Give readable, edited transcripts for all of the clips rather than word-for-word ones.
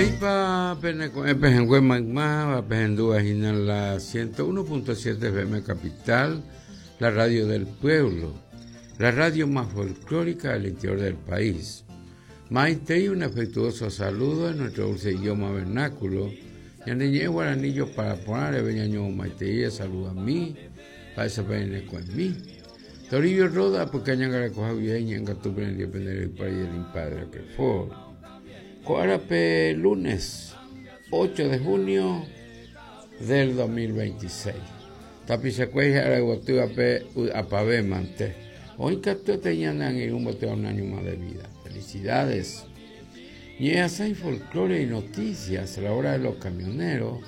Maiteipa pene ko'ẽ pehẽngue maymáva pehendúva hína la 101.7 FM Capital, la radio del pueblo, la radio más folclórica del interior del país. Maitei un afectuoso saludo en nuestro dulce idioma vernáculo. Ñane ñe'ẽ guarani jopara porã reve ñañomomaitei saludami, mba'éichapa ñane ko'ẽmi. Toribio Roda, apyka ñangarekoha guive iñe'ẽngatu pene pende reypári del Impadre Roquefort. Ko árape lunes 8 de junio del 2026. Tapichakuéra hi'arayvotývape vy'apave mante. Oĩ katuete ñane angirũ mbotéva un año más de vida. Felicidades. Ñe'ẽasãi folklore y noticias, la hora de los camioneros,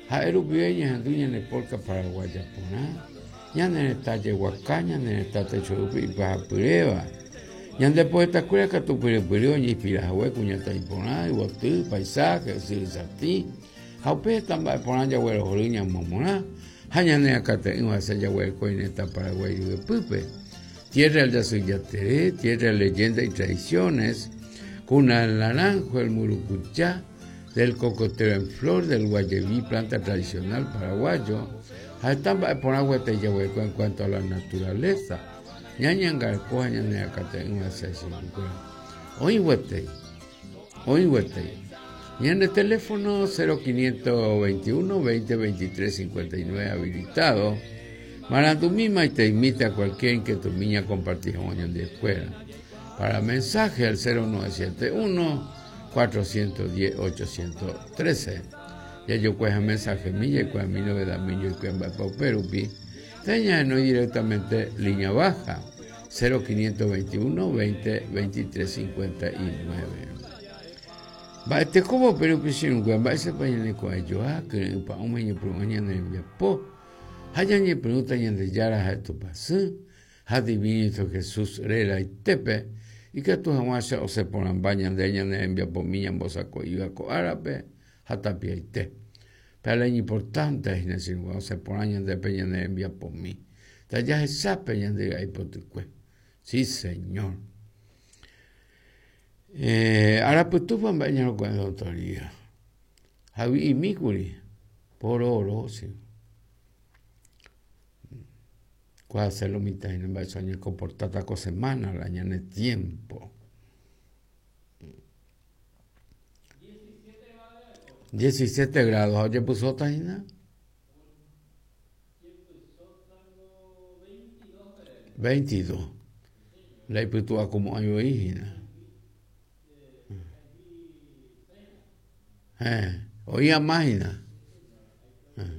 ha'e rupive ñahendu ñane polka paraguaya porã, ñane retã jeguaka, ñane retã techo rupi ipahapyréva. Ñande poetakuéra katu pyrypyry oñeinspira hague kuñataĩ porã, yvoty, paisaje, ysyry satĩ, ha upe heta mba'e porã jaguerohory ñamomorã ha ñane akate'ỹva hese jaguereko iretã Paraguái ryepýpe. Tierra del Yasy Jatere, tierra de leyenda y tradiciones, cuna del naranjo, el murucuchá, del cocotero en flor, del guayeví, planta tradicional paraguayo, ha heta mba'e porã gueteri jaguereko en cuanto a la naturaleza. Ñañangareko ha ñane akate'ỹva hese chupekuéra. Oĩ gueteri, oĩ gueteri. Ñane teléfono 0521 20 23 59 habilitado. Marandumi maiteimíta cualquier inquietud ña compartir hag̃ua ñandekuéra. Para mensaje al 0971 410 813. Jajokuaha mensaje mi jaikuaami novedad mi joikuaa mba'épa upe rupi. Teñahenói directamente línea baja 0521 20 23 59. Mba'etekópa upe rupi che irũnguéra mba'éichapa ñaneko'ẽjoa kyre'ỹ pa'ũme ñepyrũ'ã ñane rembiapo ha ñañepyrũta Ñandejára ha'e Tupãsy ha Divino Jesús reraitépe ikatu hag̃uáicha osẽ porãmba ñande ñane rembiapomi ñambosako'íva ko árape ha tapiaite. Pe la iñimportante hína che irũnguéra osẽ porã ñandépe ñane rembiapomi. Tajahechápe ñande ry'ái potykue. Sí, señor. Eh, arapytúpa mba'e ñarokua'e doctoría. Ha vy'imíkuri pororo che. Kua hacer lo mitã hína mba'éicha oñekomportáta ko semana la ñane tiempo. 17 grados ha ojepysóta hína. 22. La ipytu'akumo'ãi voi hína. Héẽ, oĩ ama hína.